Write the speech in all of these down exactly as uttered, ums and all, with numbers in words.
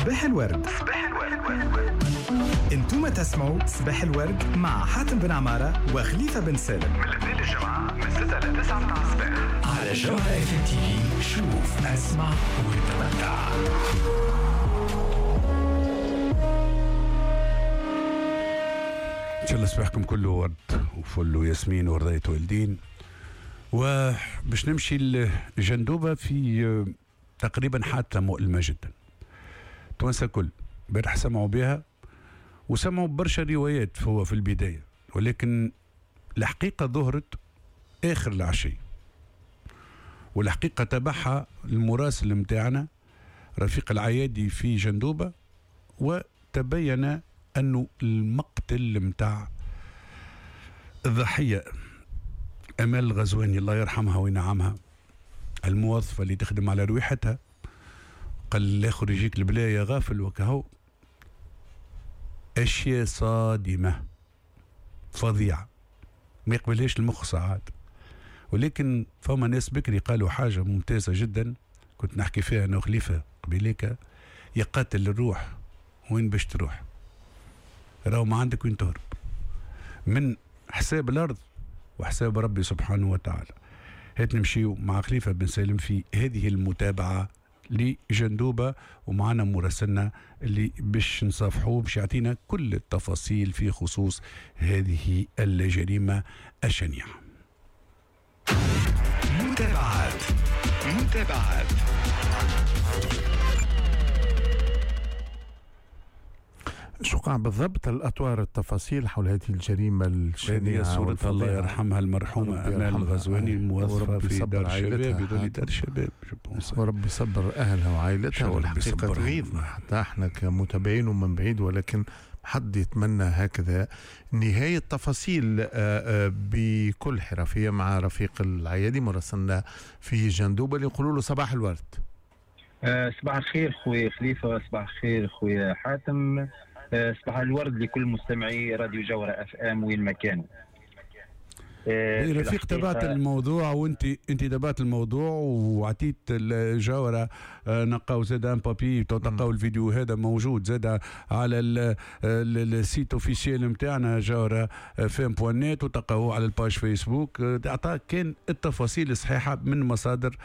صباح الورد. صباح الورد. انتم تسمعوا صباح الورد مع حاتم بن عمارة وخليفة بن سالم من الاثنين للجمعة من ستة ل تسعة متاع الصباح على جوهرة TV. شوف، اسمع وتمتع. ان شاء الله صباحكم كله ورد وفل وياسمين ورضاية والدين. وباش نمشي لجندوبة في تقريبا حادثة مؤلمة جدا. توانسة كل امبارح سمعوا بها وسمعوا برشا روايات هو في البداية، ولكن الحقيقة ظهرت آخر العشية، والحقيقة تبعها المراسل متاعنا رفيق العيادي في جندوبة، وتبين أنه المقتل متاع الضحية أمال الغزواني الله يرحمها وينعمها، الموظفة اللي تخدم على رويحتها، قال الآخر يجيك البلايا غافل وكهو. أشياء صادمة فظيعة ما يقبلهاش المخ ساعات، ولكن فما ناس بكري قالوا حاجة ممتازة جدا كنت نحكي فيها أنا وخليفة قبيليك: يقاتل الروح وين باش تروح، راهو ما عندك وين تهرب من حساب الأرض وحساب ربي سبحانه وتعالى. هات نمشيو مع خليفة بن سالم في هذه المتابعة لجندوبة، ومعنا مراسلنا اللي باش نصافحوه باش يعطينا كل التفاصيل في خصوص هذه الجريمة الشنيعة. متابعات متابعات شو قاع بالضبط الأطوار التفاصيل حول هذه الجريمة الشنيعة؟ هذه صورة الله يرحمها المرحومة أمال الغزواني الموظفة في دار الشباب، يظل دار الشباب، وربي صبر أهلها وعائلتها. والحقيقة تغيظنا حتى احنا كمتابعين ومن بعيد، ولكن حد يتمنى هكذا نهاية. تفاصيل بكل حرفية مع رفيق العيادي مراسلنا في جندوبة اللي يقولوا له صباح الورد. صباح الخير خويا خليفة، صباح الخير خويا حاتم، صباح الورد لكل مستمعي راديو جوهرة اف ام وين ما كانوا. رفيق، تبعت الموضوع وانت انت تبعت الموضوع وعطيت الجوهرة، نلقاو زاد un papier، تلقاو الفيديو هذا موجود زاد على ال site officiel نتاعنا جوهرة FM point net، وتلقاوه على ال page فيسبوك. اعطاك كان التفاصيل الصحيحة من مصادر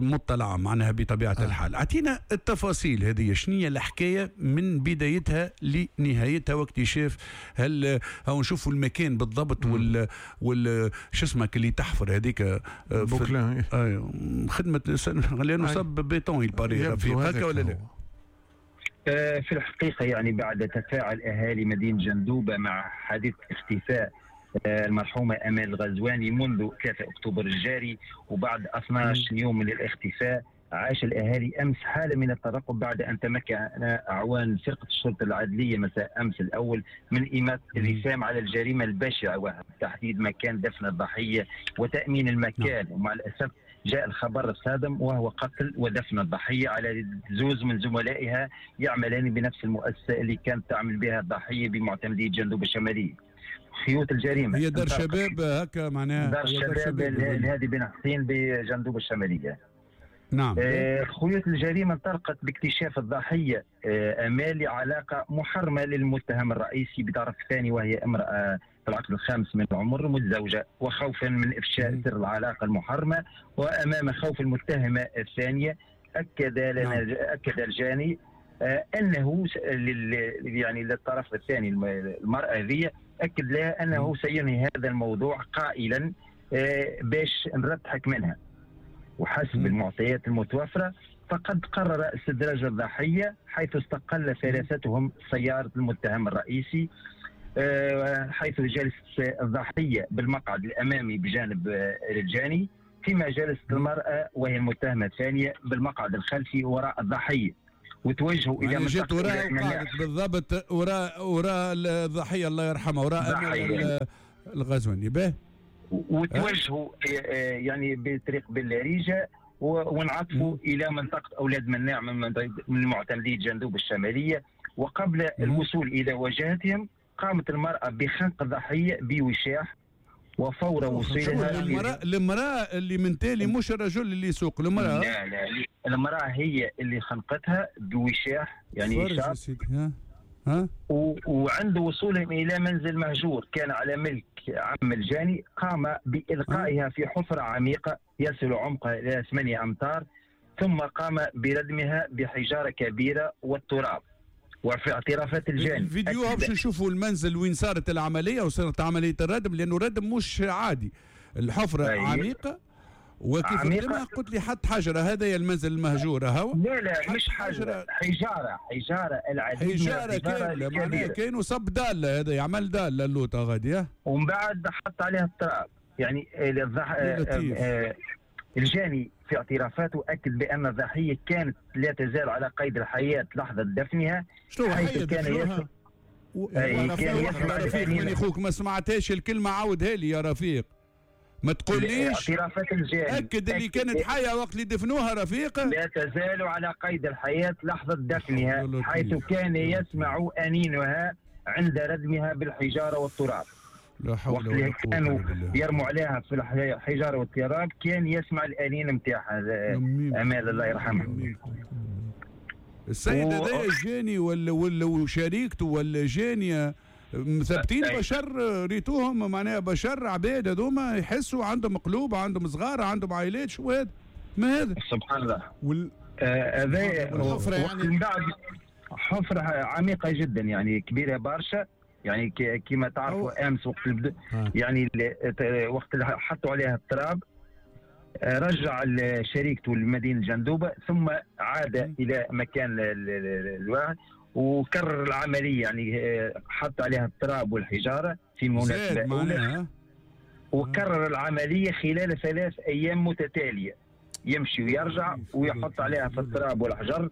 مطلعه معناها بطبيعة آه. الحال. اعطينا التفاصيل هذه، شنو هي الحكاية من بدايتها لنهايتها واكتشاف هل هاو نشوفوا المكان بالضبط وال وال شو اسمك اللي تحفر هذيك بوكلان، ايوه خدمة لانه صب béton الباري رفيق هكا ولا لا؟ آه في الحقيقة يعني بعد تفاعل اهالي مدينة جندوبه مع حادث اختفاء آه المرحومة امال الغزواني منذ ثلاثة اكتوبر الجاري، وبعد اثنا عشر يوم من الاختفاء، عاش الأهالي أمس حالة من الترقب بعد أن تمكن أعوان فرقة الشرطة العدلية مساء أمس الأول من إيماء الرسام على الجريمة البشعة وتحديد مكان دفن الضحية وتأمين المكان. ومع الأسف جاء الخبر الصادم وهو قتل ودفن الضحية على زوز من زملائها يعملان بنفس المؤسسة اللي كانت تعمل بها الضحية بمعتمدية جندوبة الشمالية. خيوط الجريمة هي دار شباب هكا معناها، دار شباب الهادي بن حسين بجندوبة الشمالية. نعم. آه خيوط الجريمة انطلقت باكتشاف الضحية آه أمال علاقة محرمة للمتهم الرئيسي بطرف ثاني، وهي امرأة في العقد الخامس من العمر متزوجة، وخوفا من إفشاء سر العلاقة المحرمة وأمام خوف المتهمة الثانية أكد لنا نعم. أكد الجاني آه أنه لل يعني للطرف الثاني المرأة ذي أكد لها أنه سينهي هذا الموضوع قائلا آه باش نرتحك منها. وحسب المعطيات المتوفرة فقد قرر استدراج الضحية، حيث استقل ثلاثتهم سيارة المتهم الرئيسي، حيث جلست الضحية بالمقعد الأمامي بجانب الجاني، فيما جلست المرأة وهي المتهمة الثانية بالمقعد الخلفي وراء الضحية، وتوجهوا إلى يعني جت وراء وقعدت بالضبط وراء وراء الضحية الله يرحمها، وراء الغزواني به، وتوجهوا يعني بطريق بالريجة وانعطفوا إلى منطقة أولاد مناع من معتمدية جندوب الشمالية. وقبل الوصول إلى وجهتهم قامت المرأة بخنق الضحية بوشاح، وفور وصولها المرأة، المرأة اللي من تالي مش الرجل اللي يسوق، المرأة لا لا المرأة هي اللي خنقتها بوشاح يعني شاب. ها ها و... وعند وصولهم إلى منزل مهجور كان على ملك عم الجاني، قام بإلقائها في حفرة عميقة يصل عمقها إلى ثمانية أمتار، ثم قام بردمها بحجارة كبيرة والتراب. وفي اعترافات الجاني الفيديو باش نشوفوا المنزل وين صارت العملية وصارت عملية الردم، لأنه الردم مش عادي، الحفرة أيه. عميقة وكيف ردمها قلت لي حط حجرة، هذا هي المنزل المهجور هو. لا لا مش حجرة، حجارة، حجارة العديد، حجارة كاملة معناها كانوا صب دالة، هذا يعمل دالة اللوطة غادي، ومن بعد حط عليها التراب. يعني الضح... آه الجاني في اعترافاته أكد بأن الضحية كانت لا تزال على قيد الحياة لحظة دفنها، حيث كان يسمع و... كان يسمع رفيق من أخوك ما سمعتهاش الكلمة، عاودها لي يا رفيق، ما تقوليش اعترافات الجاني أكد اللي كانت حية وقت اللي دفنوها رفيقة لا تزال على قيد الحياة لحظة دفنها، حيث كان يسمع أنينها عند ردمها بالحجارة والتراب. لا حول ولا قوة كانوا يرموا عليها في الحجارة والتراب كان يسمع الأنين نتاعها. أمال الله يرحمها. السيد هذا الجاني ولا ولا وشريكته ولا جانية مثبتين بشر، ريتوهم معناها بشر عباد هذوما يحسوا، عندهم قلوب، عندهم صغار، عندهم عائلات، شو هذا؟ ما هذا؟ سبحان الله. وال... هذا آه يعني من بعد حفرة عميقة جدا يعني كبيرة برشا، يعني كما تعرفوا امس وقت البد... يعني وقت حطوا عليها التراب رجع شريكته لمدينة جندوبه، ثم عاد الى مكان الواحد وكرر العملية، يعني حط عليها التراب والحجارة في مناسبة اولى، وكرر العملية خلال ثلاث ايام متتالية، يمشي ويرجع ويحط عليها في التراب والحجر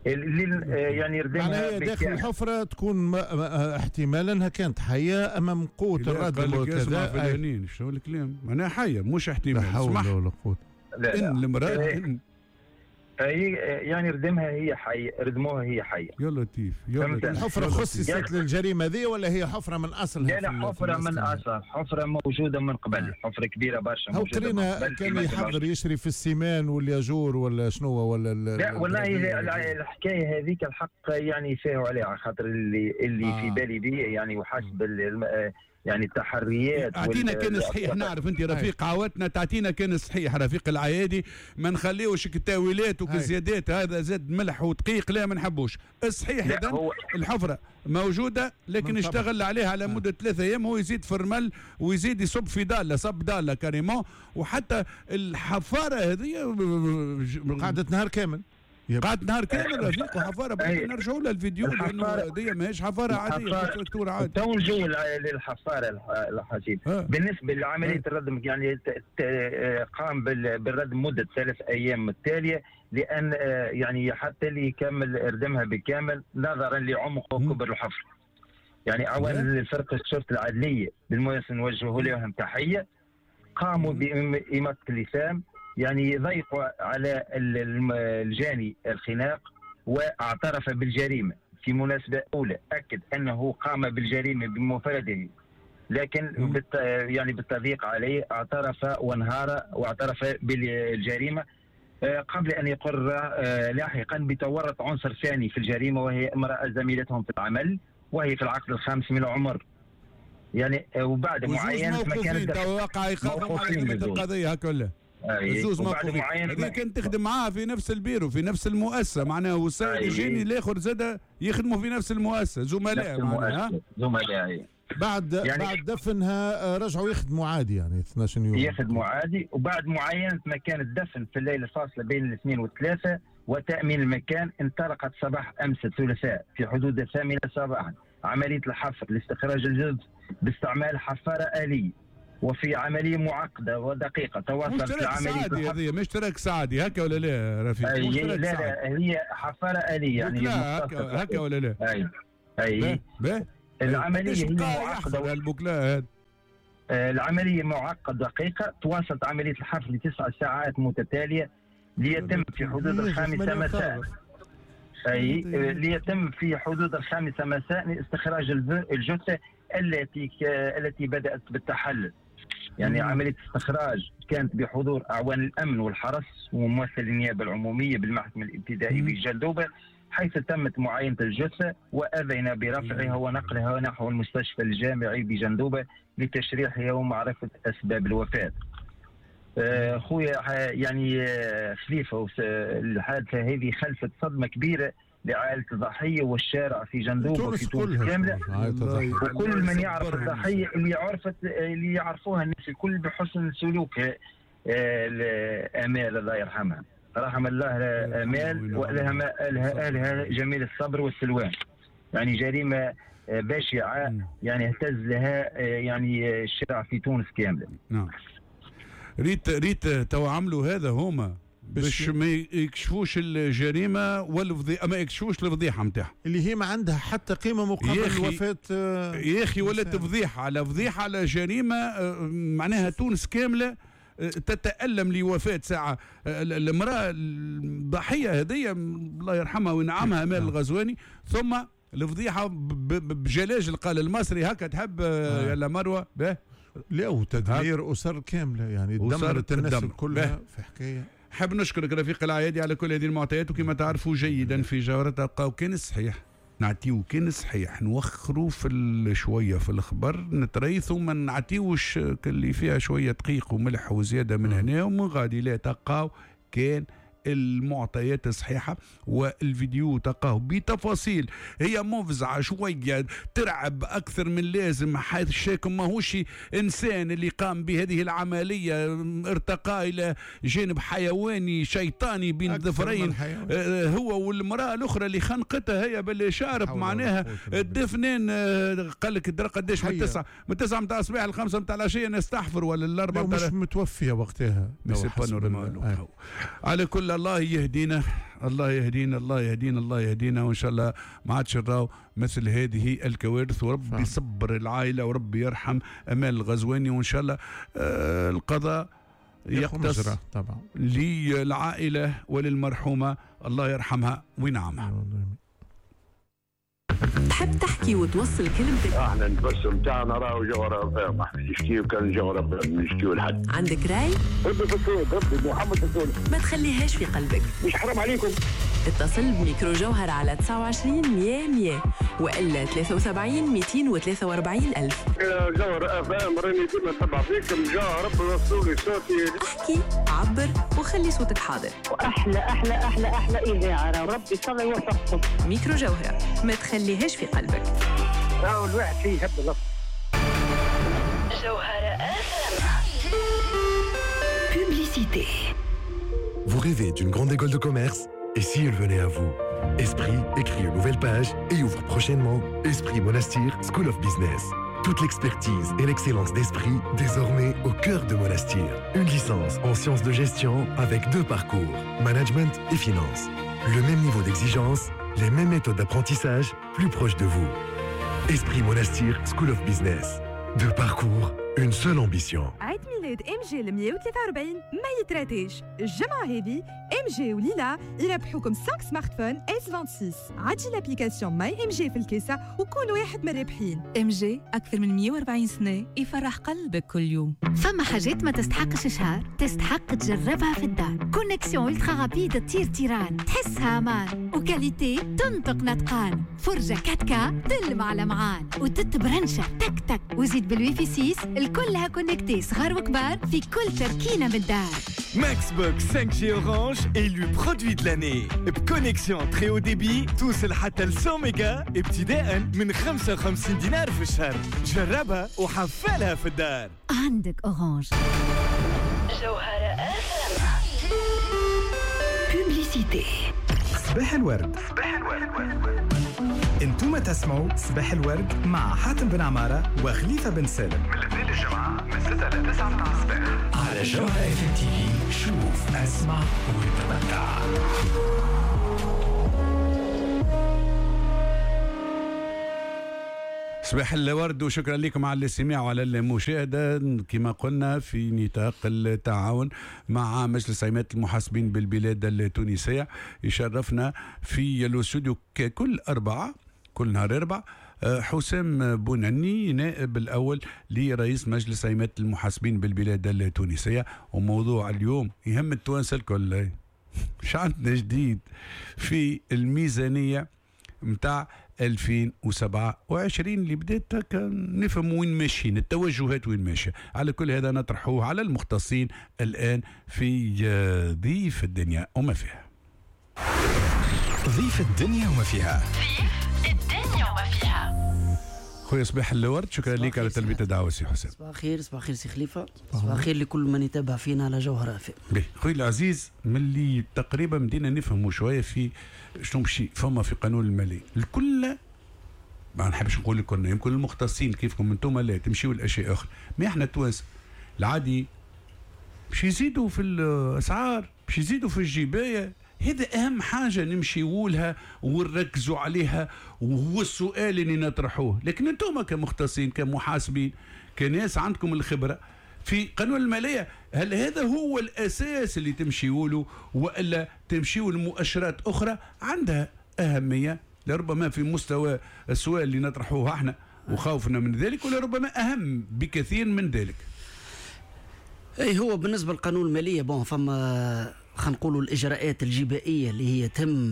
يعني ردمها. هي داخل الحفرة تكون احتمالا انها كانت حية امام قوة الردم وكذا. شنو الكلام؟ معناها حية مش احتمال. لا حول ولا قوة. ان المرأة هي يعني ردمها هي حية، ردموها هي حية. يا لطيف يا لطيف. الحفرة خصصت للجريمة ذي ولا هي حفرة من أصلها؟ لا لا حفرة من أصلها، حفرة موجودة من قبل، حفرة كبيرة برشا موجودة. هو قرينا كان يحضر يشري في السيمان والياجور ولا شنو ولا لا والله الحكاية هذيك الحق يعني فاهوا عليها، خاطر اللي اللي آه. في بالي بيه يعني وحسب يعني التحريات. اعطينا كان صحيح، نعرف انت رفيق عاودتنا، تعطينا كان صحيح رفيق العيادي، ما نخليوش التاويلات وكزيادات، هذا زاد ملح ودقيق لا ما نحبوش. الصحيح اذا الحفرة موجودة لكن اشتغل عليها على مده ثلاثة ايام، هو يزيد في الرمل ويزيد يصب في داله، صب داله carrément، وحتى الحفاره هذه قعدت نهار كامل، قعدت نهار كامل رفيق وحفاره. بعد نرجعوا للفيديو لانه هذه ماهيش حفاره عادية، تراكتور عادي. تو نجوا للحفاره الحسيب. بالنسبة لعملية الردم يعني قام بالردم مده ثلاث ايام التالية، لان يعني حتى اللي يكمل ردمها بالكامل نظرا لعمق وكبر الحفر. يعني اولا الفرقة الشرطة العدليه بالمناسبة نوجه لهم تحية، قاموا بإماطة اللثام، يعني ضيقوا على الجاني الخناق واعترف بالجريمة في مناسبة أولى، أكد أنه قام بالجريمة بمفرده، لكن بالت يعني بالتضييق عليه اعترف وانهار واعترف بالجريمة قبل أن يقر لاحقا بتورط عنصر ثاني في الجريمة وهي امرأة زميلتهم في العمل وهي في العقد الخامس من العمر. يعني وبعد معاينة مكان توقع إيقافهم على القضية هكذا. الزوز موقوفين، هذه كانت تخدم معاها في نفس البيرو في نفس المؤسسة معناها، والسيد الجاني الاخر زاد يخدموا في نفس المؤسسة، زملاء معناها، زملاء. بعد يعني بعد دفنها رجعوا يخدموا عادي يعني اثناش يوم يخدموا عادي. وبعد معاينة مكان الدفن في الليلة الفاصلة بين الاثنين والثلاثة وتامين المكان، انطلقت صباح امس الثلاثاء في حدود الثامنة صباحا عملية الحفر لاستخراج الجثث باستعمال حفاره آلية، وفي عملية معقدة ودقيقة تواصلت العملية. هذه مش تراك سعدي هكا ولا لا رفيق؟ أي لا لا هي حفاره آلية يعني هكا هكا ولا لا؟ اي اي باهي. العملية هي معقدة البوكلا، العملية معقدة دقيقة، تواصلت عملية الحفر لتسع ساعات متتالية ليتم في حدود الخامسة مساء، اي ليتم في حدود الخامسة مساء استخراج الجثة التي التي بدات بالتحلل. يعني عملية استخراج كانت بحضور أعوان الأمن والحرس وممثل النيابة العمومية بالمحكمة الابتدائية بجندوبة، حيث تمت معاينة الجثة وأذن برفعها ونقلها نحو المستشفى الجامعي بجندوبة لتشريحها ومعرفة أسباب الوفاة. خويا يعني خليفة، الحادثة هذه خلفت صدمة كبيرة لعائلة الضحية والشارع في جندوبة وفي تونس كاملة، وكل من يعرف الضحية اللي عرفت اللي يعرفوها الناس الكل بحسن سلوكها. آمال الله يرحمها، رحم الله آمال وأهلها أهلها جميل الصبر والسلوان. يعني جريمة بشعة يعني اهتز لها يعني الشارع في تونس كاملة. نعم. ريت ريت تو عملوا هذا هما باش ما يكشفوش الجريمة والفضيحة، ما يكشفوش الفضيحة نتاعها اللي هي ما عندها حتى قيمة مقابل وفاه. يا اخي ولات فضيحة على فضيحة على جريمة، معناها تونس كاملة تتألم لوفاة ساعة المرأة الضحية هذية الله يرحمها وينعمها آمال الغزواني، ثم الفضيحة بجلاجل قال المصري هكا تحب يلا مروة به. لا، وتدمير أسر كاملة، يعني دمرت الناس كلها في حكاية. حاب نشكرك رفيق العيادي على كل هذه المعطيات، وكما تعرفوا جيدا في جوهرة تلقاو كان صحيح نعطيو كان صحيح، نوخروا في شوية في الخبر نتريثوا، ما نعطيوش اللي فيها شوية دقيق وملح وزيادة من هنا ومن غادي، لا تلقاو كان المعطيات الصحيحة والفيديو تلقاه بتفاصيل هي مفزعة شوية ترعب أكثر من لازم. حيث الشاكم ماهوش إنسان اللي قام بهذه العملية، ارتقى إلى جانب حيواني شيطاني بين الظفرين هو والمرأة الأخرى اللي خنقتها هي باللي شارب، معناها الدفنين قال لك قداش من تسعة من تسعة متاع الصباح الخمسة متاع العشية نستحفر ولا الأربعة مش متوفية وقتها. على كل الله يهدينا، الله يهدينا، الله يهدينا، الله يهدينا، وان شاء الله ما عادش نراو مثل هذه الكوارث، وربي يصبر العائلة وربي يرحم امال الغزواني، وان شاء الله آه القضاء يقتص طبعا للعائلة وللمرحومه الله يرحمها وينعمها. تحب تحكي وتوصل كلمتك؟ احنا البث نتاعنا راهو جوهرة فاهم، احنا نشكيو كان جوهرة نشكيو لحد. عندك راي؟ ربي في الصوت، ربي محمد في الصوت. ما تخليهاش في قلبك، مش حرام عليكم. اتصل بميكرو جوهر على تسعة وعشرين مية مية وإلا ثلاثة وسبعين مئتين وثلاثة وأربعين ألف. جوهر اف ام راني ديما نتبع فيكم، جا ربي وصلوا لي صوتي. احكي، عبر، وخلي صوتك حاضر. واحلى احلى احلى احلى اذاعة، ربي ان شاء الله يوفقكم. ميكرو جوهرة، ما تخليهاش في قلبك. راهو الواحد فيه يحب الله. جوهرة اف ام. Publicité. Vous rêvez d'une grande école de commerce? Et si elle venait à vous? Esprit écrit une nouvelle page et ouvre prochainement Esprit Monastir School of Business. Toute l'expertise et l'excellence d'Esprit désormais au cœur de Monastir. Une licence en sciences de gestion avec deux parcours, management et finance. Le même niveau d'exigence, les mêmes méthodes d'apprentissage, plus proche de vous. Esprit Monastir School of Business. Deux parcours, une seule ambition. عيد ميلاد ام جي مية وثلاثة وأربعين ما يتراتيش. الجمعة هذه ام جي وليلى يربحوكم خمسة smartphones إس ستة وعشرين. عدي l'application My MG في الكيسة وكون واحد من الرابحين. ام جي أكثر من مية وأربعين سنة يفرح قلبك كل يوم. فما حاجات ما تستحقش شهر، تستحق تجربها في الدار. connexion ultra rapide تطير تيران، تحسها امان، و qualité تنطق نطقان، فرجة quatre K تلمع لمعان، وتتبرنشة تك تك، وزيد بالويفي ستة الكلها connectée صغار وكبار في كل تركينة من الدار. Maxbox cinq G Orange élu produit de l'année ب connexion très haut débit توصل حتى ل مية ميجا ابتداء من خمسة وخمسين دينار في الشهر. جربها وحفلها في الدار. عندك Orange. جوهرة اف Publicité. صباح الورد. صباح الورد. انتم تسمعوا صباح الورد مع حاتم بن عمارة وخليفة بن سالم من الاثنين للجمعة من ستة ل تسعة متاع الصباح على جوهرة اف تي في. شوف، اسمع وتمتع. صباح الورد وشكرا لكم على الاستماع وعلى المشاهدة. كما قلنا في نطاق التعاون مع مجلس عمادة المحاسبين بالبلاد التونسية، يشرفنا في الاستوديو كل أربعة، كل نهار أربعة، حسام بونعني، نائب الأول لرئيس مجلس عمادة المحاسبين بالبلاد التونسية. وموضوع اليوم يهم التوانسة الكل، مش عندنا جديد في الميزانية متاع ألفين وسبعة وعشرين اللي بدات نفهم وين ماشيين، التوجهات وين ماشية. على كل هذا نطرحوه على المختصين الآن في ضيف الدنيا وما فيها. ضيف الدنيا وما فيها. ضيف الدنيا وما فيها. خويا صباح الورد، شكرا لك على تلبية الدعوة سي حسام. صباح الخير. صباح الخير سي خليفة، صباح الخير لكل من يتابع فينا على جوهرة أف ام. خويا العزيز، من اللي تقريبا بدينا نفهموا شوية في شنو مشي فما في قانون المالية الكل، ما نحبش نقول لكم يمكن المختصين كيفكم انتم لا تمشيوا لاشياء اخرى، ما احنا التوانسة العادي باش يزيدوا في الاسعار، باش يزيدوا في الجبايه. هذا أهم حاجة نمشيوا لها ونركزوا عليها، وهو السؤال اللي نطرحوه. لكن أنتم كمختصين كمحاسبين كناس عندكم الخبرة في قانون المالية، هل هذا هو الأساس اللي تمشيوا له وإلا تمشيوا لمؤشرات أخرى عندها أهمية لربما في مستوى السؤال اللي نطرحوه احنا وخوفنا من ذلك، ولربما أهم بكثير من ذلك؟ أي هو بالنسبة للقانون المالية bon فما خلينا نقولوا الإجراءات الجبائية اللي هي تم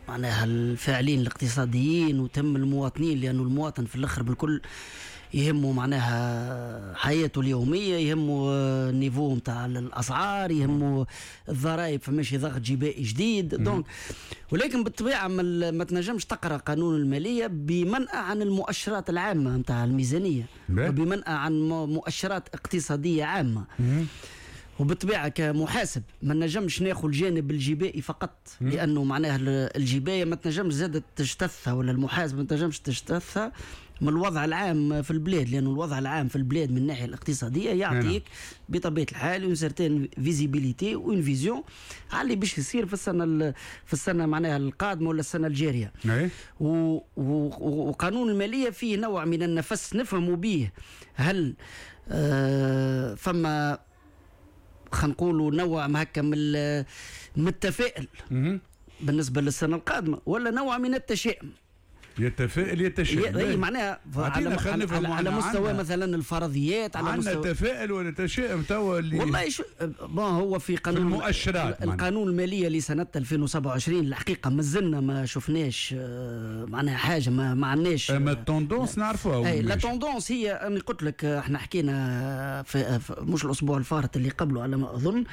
معناها الفاعلين الاقتصاديين وتم المواطنين، لأنه المواطن في الآخر بالكل يهمه معناها حياته اليومية، يهمه ال niveau نتاع الأسعار، يهمه الضرائب، فماشي ضغط جبائي جديد donc. ولكن بالطبيعة ما تنجمش تقرأ قانون المالية بمنأى عن المؤشرات العامة نتاع الميزانية وبمنأى عن مؤشرات اقتصادية عامة. وبالطبيعة كمحاسب ما نجمش ناخذ الجانب الجبائي فقط، لأنه معناها الجباية ما تنجمش زادت تجتثها، ولا المحاسب ما تنجمش تجتثها من الوضع العام في البلاد، لأنه الوضع العام في البلاد من الناحية الاقتصادية يعطيك بطبيعة الحال une certaine visibilité و une vision على اللي باش يصير في السنة في السنة معناها القادمة ولا السنة الجارية. و و وقانون المالية فيه نوع من النفس نفهموا به هل آه فما خلينا نقولوا نوع هكا من من التفاؤل بالنسبة للسنة القادمة، ولا نوع من التشاؤم. يتفائل يتشائم، اي معناها على, على, على مستوى مثلا الفرضيات، على مستوى التفاؤل ولا التشاؤم توا اللي والله شو bon هو في قانون في المؤشرات القانون المالية لسنه ألفين وسبعة وعشرين الحقيقة مازلنا ما شفناش معناها حاجة، ما, ما عندناش اما ال tendance نعرفوها. اي la tendance هي انا قلت لك احنا حكينا في, في مش الاسبوع الفارط اللي قبله على ما اظن،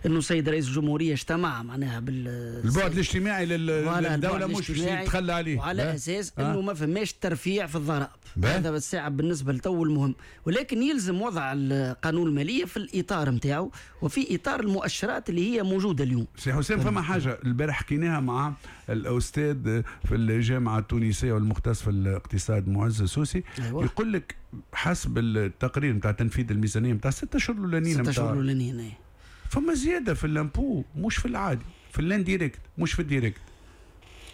انه السيد رئيس الجمهورية اجتمع معناها بال البعد الاجتماعي للدولة مش باش يتخلى عليه، وعلى اساس انه ما فماش ترفيع في الضرائب. هذا بالساعة بالنسبة لتو المهم، ولكن يلزم وضع القانون المالية في الاطار نتاعو وفي اطار المؤشرات اللي هي موجودة اليوم. سي حسام، فما حاجة البارح حكيناها مع الاستاذ في الجامعة التونسية والمختص في الاقتصاد معز السوسي. أيوة. يقول لك حسب التقرير نتاع تنفيذ الميزانية نتاع ستة اشهر الاولانيين، ستة اشهر الاولانيين فما زيادة في l'impôt، مش في العادي، في l'indirect مش في ال direct.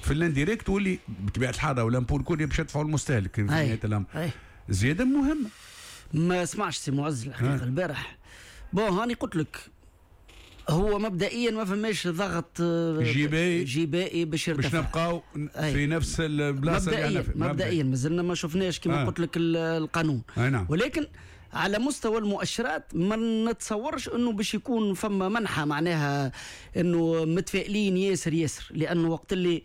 في l'indirect واللي بطبيعة الحال و l'impôt الكل باش يدفعوا المستهلك في نهاية الامر. زيادة مهمة. ما سمعش سي معز الحقيقة البارح. bon هاني قلت لك هو مبدئيا ما فماش ضغط جبائي جبائي باش يرتفع، باش نبقاو في نفس البلاصة اللي احنا فيها مبدئيا. مازلنا ما شفناش كما آه. قلت لك القانون. نعم. ولكن على مستوى المؤشرات ما نتصورش انه باش يكون فما منحى معناها انه متفائلين ياسر ياسر، لانه وقت اللي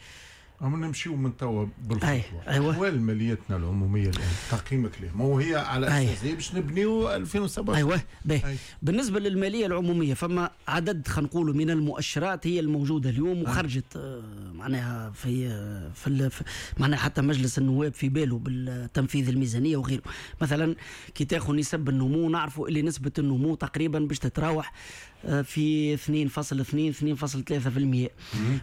عم نمشيو من توا بالخطوه. أيوة. احوال ماليتنا العمومية الان تقييمك ليه؟ ما هو هي على اساس باش نبنيو ألفين وسبعة وعشرين. ايوه باهي. بالنسبة للماليه العمومية فما عدد خلينا نقولوا من المؤشرات هي الموجودة اليوم وخرجت معناها في في معناها حتى مجلس النواب في باله بالتنفيذ الميزانية وغيره. مثلا كي تاخذ نسب النمو نعرفوا اللي نسبه النمو تقريبا باش تتراوح في اثنين فاصلة اثنين اثنين فاصلة ثلاثة بالمئة.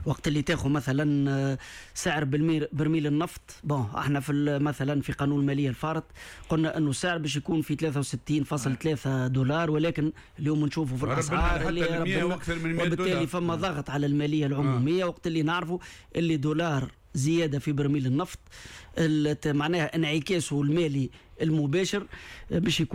وقت اللي تاخذ مثلا سعر برميل النفط، bon احنا في مثلا في قانون المالية الفارط قلنا انه السعر باش يكون في ثلاثة وستين فاصلة ثلاثة دولار، ولكن اليوم نشوفوا في الاسعار اللي ربنا، وبالتالي فما ضغط على المالية العمومية. وقت اللي نعرفوا اللي دولار زيادة في برميل النفط معناها انعكاسه المالي المباشر باش يكون